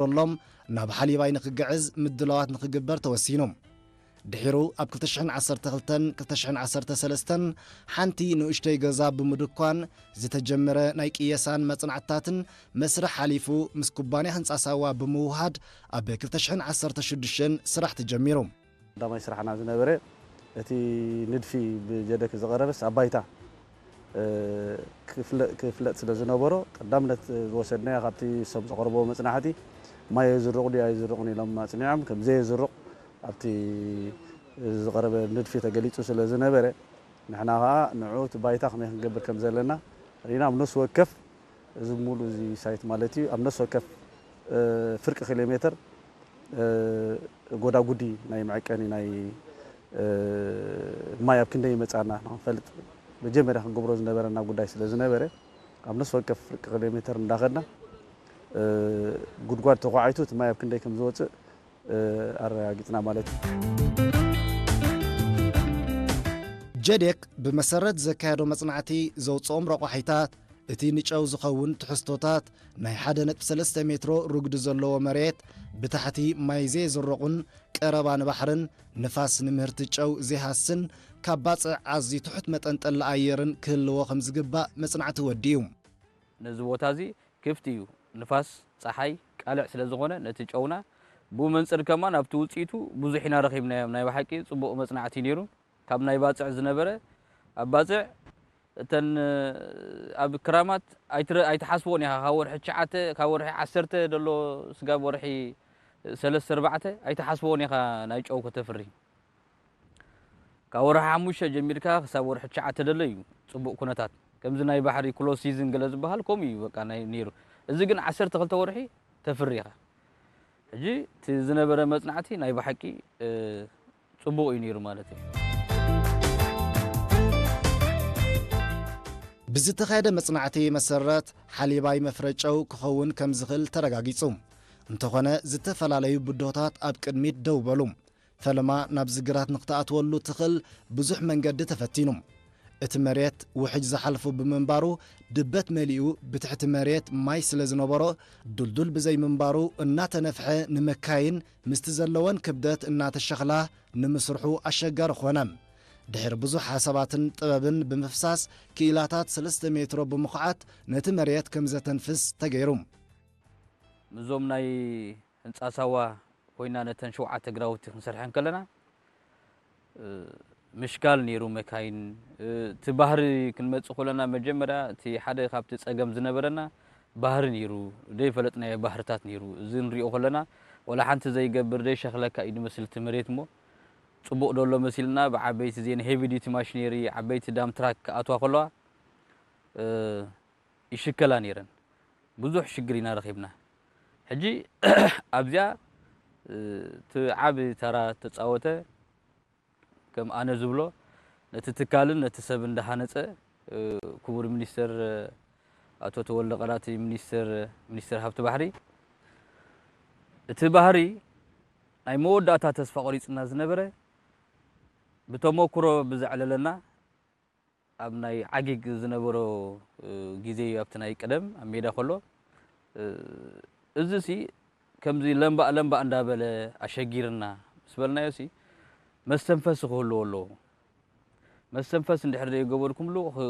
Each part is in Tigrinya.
ተፈጢሩሎም ናብ ሓሊባይ ንክግዕዝ ምድላዋት ንክግበር ተወሲኑ። ድሒሩ ኣብ ክልተ ሽሕን ዓሰርተ ክልተን ክልተ ሽሕን ዓሰርተ ሰለስተን ሓንቲ ንኡሽተይ ገዛ ብምድኳን ዝተጀመረ ናይ ቅየሳን መጽናዕትታትን መስርሕ ሓሊፉ ምስ ኩባንያ ህንጻ ሳዋ ብምውሃድ ኣብ ክልተ ሽሕን ዓሰርተ ሽዱሽተን ስራሕ ተጀሚሩ። ቀዳማይ ስራሕና ዝነበረ እቲ ንድፊ ብጀደክ ዝቐረበስ ኣብ ባይታ፣ እ፣ ክፍለ-፣ ክፍለጥ ስለ ዝነበሮ ቀዳምነት ዝወሰድናዮ ካብቲ ሰብ ዘቕረቦ መጽናዕቲ ማይ የዝርቕ ድዩ ኣይዝርቕን ኢሎም ኣጽኒዖም። ከም ዘየዝርቕ ኣብቲ ዝቐረበ ንድፊ ተገሊጹ ስለ ዝነበረ ንሕና ኸኣ ንዑ እቲ ባይታ ከመይ ክንገብር ከም ዘለና ርኢና ኣብ ነፍሲ ወከፍ እዚ ሙሉ እዚ ሳይት ማለት እዩ። ኣብ ነፍሲ ወከፍ፣ እ፣ ፍርቂ ኪሎ ሜትር፣ እ፣ ጎዳጉዲ ናይ መዐቀኒ ናይ፣ እ፣ ማይ ኣብ ክንደይ ይመጻና ንኽንፈልጥ መጀመርያ ክንገብሮ ዝነበረና ጉዳይ ስለ ዝነበረ ኣብ ነፍሲ ወከፍ ፍርቂ ኪሎ ሜትር እንዳኸድና፣ እ፣ ጉድጓድ ተዃዒቱ እቲ ማይ ኣብ ክንደይ ከም ዝወጽእ፣ እ፣ ኣረጋጊጽና ማለት እዩ። ጀዴክ ብመሰረት ዘካየዶ መጽናዕቲ ዘውጽኦም ረቋሒታት እቲ ንጨው ዝኸውን ትሕዝቶታት ናይ ሓደ ነጥቢ ሰለስተ ሜትሮ ርጉዲ ዘለዎ መሬት ብታሕቲ ማይ ዘየዝርቑን ቀረባ ንባሕርን ንፋስ ንምህርቲ ጨው ዘይሃስን ካብ ባጽዕ ኣዝዩ ትሑት መጠን ጠሊ ኣየርን ክህልዎ ከም ዝግባእ መጽናዕቲ ወዲኡ። ነዚ ቦታ እዚ ክፍቲ እዩ። ንፋስ፣ ጸሓይ፣ ቃልዕ ስለ ዝኾነ ነቲ ጨውና ብኡ መንጽር ከማን ኣብቲ ውጽኢቱ ብዙሕ ኢና ረኺብናዮ። ናይ ብሓቂ ጽቡቕ መጽናዕቲ ነይሩ። ካብ ናይ ባጽዕ ዝነበረ ኣብ ባጽዕ እተን ኣብ ክራማት ኣይትረ-፣ ኣይትሓስቦን ኢኻ። ካብ ወርሒ ትሽዓተ፣ ካብ ወርሒ ዓሰርተ ደሎ ስጋብ ወርሒ ሰለስተ ኣርባዕተ ኣይትሓስቦን ኢኻ ናይ ጨው ከተፍሪ። ካብ ወርሒ ሓሙሽተ ጀሚርካ ክሳብ ወርሒ ትሽዓተ ደሎ እዩ ጽቡቕ ኩነታት። ከምዚ ናይ ባሕሪ ክሎዝ ሲዝን ገለ ዝበሃል ከምኡ እዩ በቃ ናይ ነይሩ። እዚ ግን ዓሰርተ ክልተ ወርሒ ተፍሪ ኢኻ። ሕጂ እቲ ዝነበረ መጽናዕቲ ናይ ብሓቂ፣ እ፣ ጽቡቕ እዩ ነይሩ ማለት እዩ። ብዝተኻየደ መጽናዕቲ መሰረት ሓሊባይ መፍረ ጨው ክኸውን ከም ዝኽእል ተረጋጊጹ። እንተኾነ ዝተፈላለዩ ብድሆታት ኣብ ቅድሚት ደው በሉ። ፈለማ ናብዚ ግራት ንክትኣትወሉ ትኽእል ብዙሕ መንገዲ ተፈቲኑ። እቲ መሬት ውሕጅ ዝሓልፉ ብምንባሩ ድበት መሊኡ ብትሕቲ መሬት ማይ ስለ ዝነበሮ ድልዱል ብዘይምንባሩ እናተነፍሐ ንመካይን ምስቲ ዘለወን ክብደት እናተሸኽላ ንምስርሑ ኣሸጋሪ ኾነ። ድሕሪ ብዙሕ ሓሳባትን ጥበብን ብምፍሳስ ክኢላታት ሰለስተ ሜትሮ ብምኹዓት ነቲ መሬት ከም ዘተንፍስ ተገይሩ። ምስዞም ናይ ህንጻ ሳዋ ኮይና ነተን ሸውዓተ ግራውቲ ክንሰርሐን ከለና፣ እ፣ ምሽካል ነይሩ መካይን። እ፣ እቲ ባህሪ ክንመጽእ ከለና መጀመርያ እቲ ሓደ ካብቲ ጸገም ዝነበረና ባህሪ ነይሩ፣ ዘይፈለጥናዮ ባህርታት ነይሩ። እዚ ንሪኦ ከለና ወላ ሓንቲ ዘይገብር ዘይሸኽለካ እዩ ዝመስል እቲ መሬት እሞ፣ ጽቡቕ ደሎ መሲልና ብዓበይቲ ዜን ሄቪ ዲቲ ማሽነሪ፣ ዓበይቲ ዳም ትራክ ክኣትዋ ከለዋ፣ እ፣ ይሽከላ ነይረን። ብዙሕ ሽግር ኢና ረኺብና። ሕጂ ኣብዚኣ፣ እ፣ እቲ ዓቢ ተራ ተጻወተ፣ ከም ኣነ ዝብሎ፣ ነቲ ትካልን ነቲ ሰብ እንዳሃነጸ፣ እ፣ ክቡር ሚኒስተር፣ እ፣ ኣቶ ተወልደ ቀራቲ ሚኒስተር፣ ሚኒስተር ሃብቲ ባሕሪ፣ እቲ ባህሪ ናይ መወዳእታ ተስፋ ቆሪጽና ዝነበረ፣ ብተመኩሮ ብዘዕለለና፣ ኣብ ናይ ዓጊግ ዝነበሮ፣ እ፣ ግዜ እዩ፣ ኣብቲ ናይ ቀደም ኣብ ሜዳ ከሎ፣ እ፣ እዚሲ ከምዚ ለምባእ ለምባእ እንዳበለ ኣሸጊርና ምስ በልናዮሲ፣ መስተንፈሲ ክህልዎ ኣለዎ። መስተንፈሲ እንድሕር ዘይገበርኩምሉ፣ ክ-፣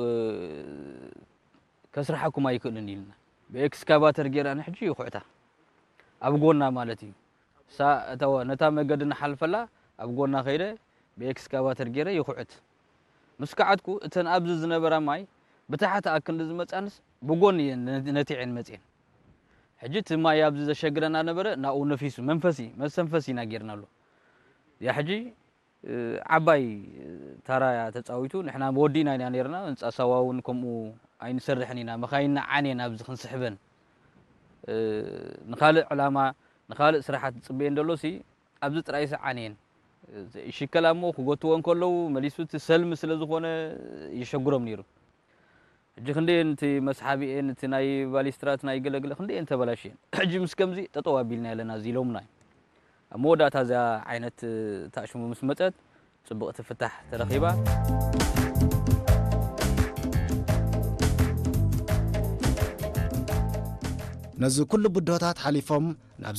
ከስርሓኩም ኣይክእልን ኢልና። ብኤክስካቫተር ጌራ ንሕጂ ይኹዕታ። ኣብ ጎና ማለት እዩ። ሳ-፣ እተወ፣ ነታ መገዲ ንሓልፈላ ኣብ ጎና ከይደ ብኤክስካቫተር ጌረ ይኹዕት። ምስ ከዓትኩ፣ እተን ኣብዚ ዝነበራ ማይ ብታሕቲ ኣክንዲ ዝመጻንስ ብጎኒ እየን ነ-፣ ነቲዐን መጽየን። ሕጂ እቲ ማይ ኣብዚ ዘሸግረና ነበረ፣ ናብኡ ነፊሱ፣ መንፈሲ፣ መስተንፈሲ ኢና ጌርናሉ። ያ ሕጂ፣ እ፣ ዓባይ፣ እ፣ ታራ እያ ተጻዊቱ። ንሕና ወዲእና ኢና ኔርና፣ ህንጻ ሳዋ እውን ከምኡ ኣይንሰርሕን ኢና። መኻይንና ዓንየን ኣብዚ ክንስሕበን፣ እ፣ ንኻልእ ዕላማ፣ ንኻልእ ስራሓት ዝጽበየን ደሎሲ፣ ኣብዚ ጥራይሲ ዓንየን። እ፣ ይሽከላ እሞ ክጎትዎ እንከለዉ፣ መሊሱ እቲ ሰልሚ ስለ ዝኾነ፣ የሸግሮም ነይሩ። ሕጂ ክንደየን እቲ መስሓቢኤን፣ እቲ ናይ ባሊስትራት ናይ ገለግለ ክንደየን ተበላሽየን። ሕጂ ምስ ከምዚ ጠጠው ኣቢልና ኣለና፣ እዚ ኢሎምና እዩ። ኣብ መወዳእታ እዚኣ ዓይነት ታሽሙ ምስ መጸት፣ ጽቡቕቲ ፍታሕ ተረኺባ። ነዚ ኩሉ ብድሆታት ሓሊፎም ናብዚ